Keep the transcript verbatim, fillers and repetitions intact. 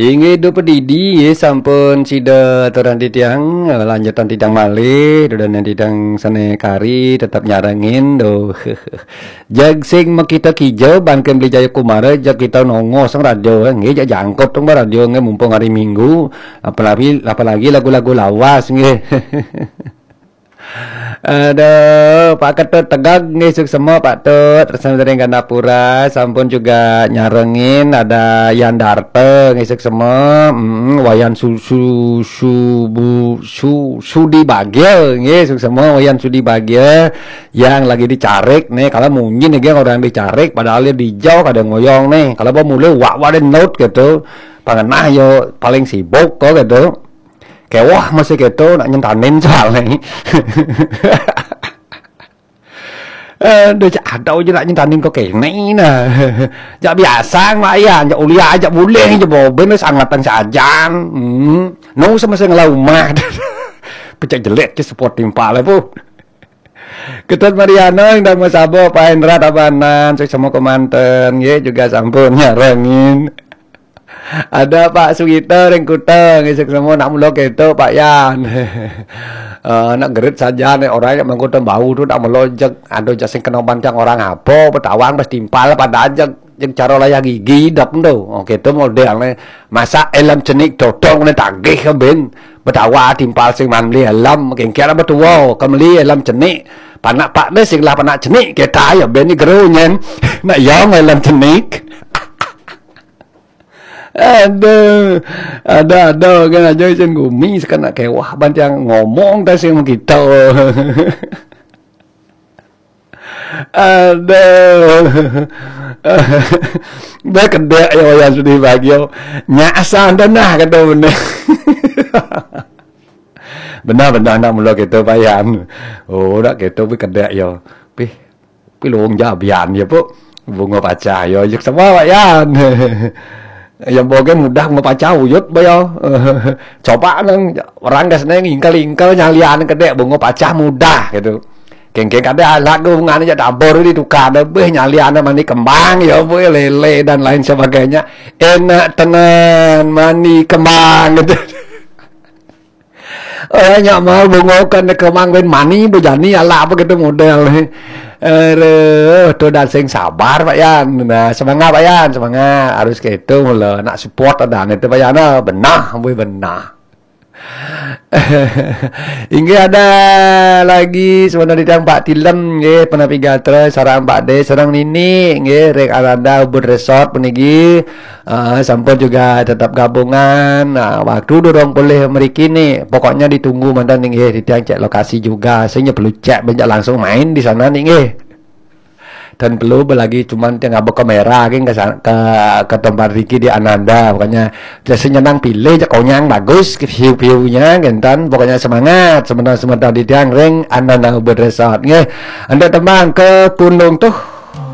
Inggih, duh pedidi, nggih, sampun sida aturang titiang, eh, lanjutan titiang malih, dudonan titiang sané kari tetep nyarengin, duh. Jag sing makita kija, ban ké Beli Jaya Kumara, jag kita nongos sang radio, eh, nggih, jag jangkut tong radio, nggih, mumpung hari Minggu, apalagi, apalagi lagu-lagu lawas, nggih. Aduh, Pak Ketut Tegag nggih, suksema Pak Tut, tresna ring Gandapura, sampun juga nyarengin, ada Yan Darta nggih, suksema, mm, Wayan Su, Su, Subu, Su, Sudi Bagya nggih, suksema Wayan Sudi Bagya yang lagi dicarik nih, kalau munyin nih orang dicarik, padahal dia dijauh kada ngoyong nih, kalau mau mulai wak wak note gitu, pangenah yo paling sibuk kok gitu. Kéweh masih kéto nak nyentanin soalnya. Aduh, cak ada aja nak nyentanin kok kéné nah. Jak biasa, Mak Yan, jak uliah, jak buling, jak boben, wis angatan sajan. Hmm. No sama sing ngelah umah. Pecak jelek ke support timpal, Bu. Ketut Mariana, Indang Masabo, Pak Hendra Tabanan, suksema kemanten, nggih, juga sampun nyarengin. Ada Pak Sugito ring Kuta, nggih, suksema nak mula kéto, Pak Yan. Eh, nak gerit saja nih, orang yang mangkuta bau tu nak mula jeg, ada jas sing kena bantang orang apa, betawang pas timpal pada jeg, jeg cara layah gigi dap tu. Oh, kéto model nih. Masa elem cenik totong nih tagih ke ben. Betawa timpal sing man beli elem, kengkian apa tua, kemeli elem cenik. Panak pak deh sing lah panak cenik, kita ya ben ni geru nyen. Nak yang elem cenik. Aduh, ada-ada kan aja isin gumi, sekarang nak kewah bantiang ngomong dah sing kita. Aduh. Dah kedek ya Wayan Sudi Bagio. Nyak asal dah nah kata benar. Benar-benar nak mula kita Pak Yan. Oh, nak kita pi kedek ya. Pi pi lung jabian ya, Bu. Bunga pacah ya, yuk semua Pak Yan. Yang boge mudah bunga pacah uyut ba ya. Coba nang orang gas neng ingkel-ingkel nyalian kedek bunga pacah mudah gitu. Kengkeng kada alat tu bunga ni jak tabur di tukar deh beh nyalian mani kembang ya, Bu, lele dan lain sebagainya. Enak tenan mani kembang gitu. Oh, nyak mau bunga kan kembang ben mani bejani ala apa gitu model ni. Aduh, tu dah sing sabar Pak Yan. Nah, semangat Pak Yan, semangat. Harus gitu mula nak support ada itu Pak Yan. Ah, benah, weh benah. Inggih ada lagi sebenarnya tiang Pak Tilem nggih, penapi gatra sareng Pak De sareng Nini nggih, ring Ananda Ubud Resort puniki. Ah, sampun juga tetap gabungan. Nah, waktu durung boleh mriki nih. Pokoknya ditunggu mantan nih nggih, tiang cek lokasi juga. Sehingga perlu cek banyak langsung main di sana nih nggih. Dan perlu lagi cuman yang ngaba kamera geng ke, sa- ke ke tempat Ricky di Ananda, pokoknya jadi nyenang pilih je konyang bagus ke view-view-nya gentan, pokoknya semangat sebentar-sebentar di tiang ring Ananda Ubud Resort nggih. Anda tembang ke Pundung tuh